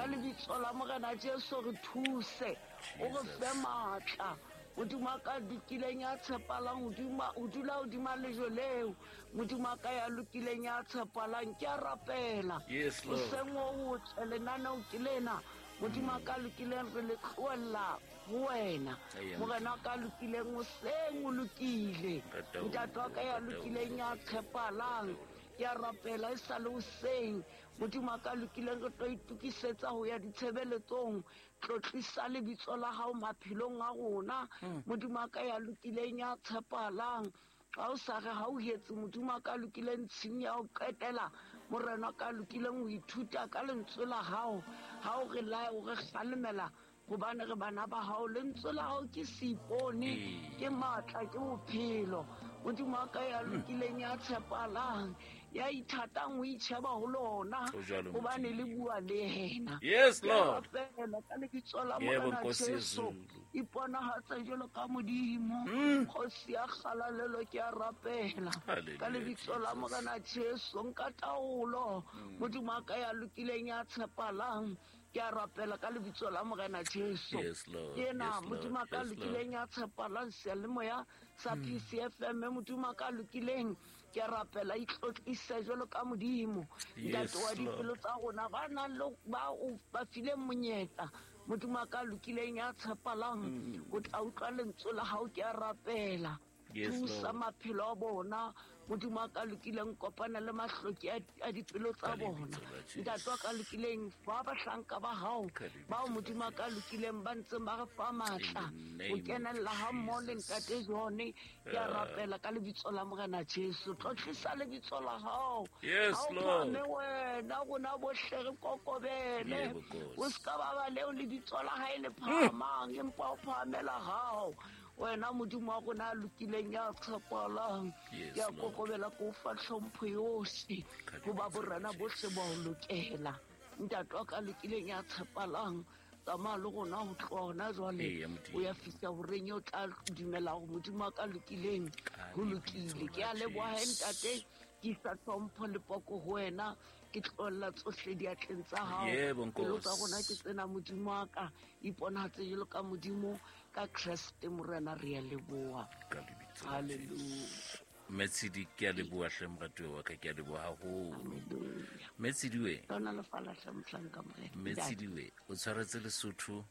Ka lebitso la Morena Jesu re thuse, o re fe matla. Modimo wa ka lokileng ya tshepalang, o dula hodima lejwe leo. Modimo wa ka ya lokileng ya tshepalang, ke a rapela. Yes, Lord. Hoseng o otle lenaneo ke lena. Modimo wa ka lokileng re le tlohella ho wena. Amen. Morena wa ka lokileng hoseng o lokile. Ntate o Ntate wa ka ya ntate o lokileng ya tshepalang, ke a rapela e sa le hoseng. Modimo wa ka lokileng re tlo itokisetsa ho ya ditshebeletsong. Tlotlisa lebitso la hao maphelong a rona. Modimo wa ka ya lokileng ya tshepalang, ha o sa re ha o hetse Modimo wa ka lokileng tshing ya ho qetela, Morena wa ka lokileng ho ithuta ka lentswe la hao. Ha o re lae, o re kgalemela, hobane re bana ba hao. Lentswe la hao ke seipone, ke matla, ke bophelo. Modimo wa ka ya lokileng ya tshepalang, ya ithatang ho itjheba ho lona, Ho jwalo, hobane le Modimo. bua le yena. Yes, Ke a Lord. rapela ka lebitso la Yebo, Morena Nkosi Jesu. yezulu. Iponahatse jwalo ka Modimo. Kgosi ya kgalalelo, ke a rapela. Hallelujah, Ka lebitso la Jesus. Morena Jesu, nka taolo. Modimo wa ka ya lokileng ya tshepalang, ke a rapela ka lebitso la Morena Jesu. Yes, Lord. Ke ena, Yes, Lord. Modimo wa ka Yes, Lord. lokileng ya tshepalang, seyalemoya sa PCFM, Modimo wa ka lokileng, ke a rapela, itlotlise jwalo ka Modimo. Yes, Ntate wa dipelo Lord. tsa rona, ba nang le ba o ba fileng monyetla, Modimo wa ka lokileng ya tshepalang, o tla utlwa lentswe la hao, ke a rapela. Yes, Thusa Lord. maphelo a bona, Modimo wa ka lokileng, kopana le mahloki a dipelo tsa Ka bona. lebitso la Jesu. Ntate wa ka lokileng, fa bahlanka ba hao, Ka lebitso bao la Modimo wa ka Jesu. lokileng ba ntseng ba re fa matla, In the name ho of kenella ha mmoho le Jesus. Ntate John, ke a rapela ka lebitso la Morena Jesu. Tlotlisa lebitso la hao. Yes, Ha o Lord. phahame wena, rona bohle re kokobele. Yebo, Nkosi. O ska ba ba leo lebitso la hae le phahamang, empa o phahamela hao. Wena Modimo wa rona a lokileng ya tshepalang, Yes, ke a Lord. kokobela, ke o fa tlhompho yohle, Ka hoba lebitso la borena bohle ba o lokela. Ntate wa ka lokileng ya tshepalang, tsamaya le rona ho tloha hona jwale, Eya, Modimo. o ya fihla horeng eo tla dumela hore Modimo wa ka lokileng Ka ho lebitso lokile. la Ke a leboha he, Jesu. ntate, ke isa tlhompho le poko ho wena, ke tlohella tsohle diatleng tsa hao. Yebo, Pelo tsa Nkosi. rona ke tsena, Modimo wa ka, iponahatse jwalo ka Modimo, ka Kreste Morena re a leboha. Ka lebitso la Hallelujah. Jesu. Metshidi, ke a leboha hle moratuwa wa ka, ke a leboha haholo. Hallelujah. Metshidi we. Lona le fala hle mohlanka Morena. Metshidi we, o tshwaretse Lesotho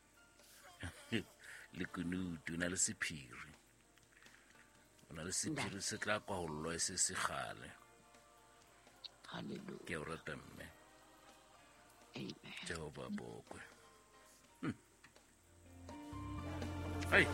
le kunutu, o na le sephiri. O na le sephiri se tla kwahollwa e se se kgale. Hallelujah. Ke a o rata mme. Amen. Jehova bokwe. Hey.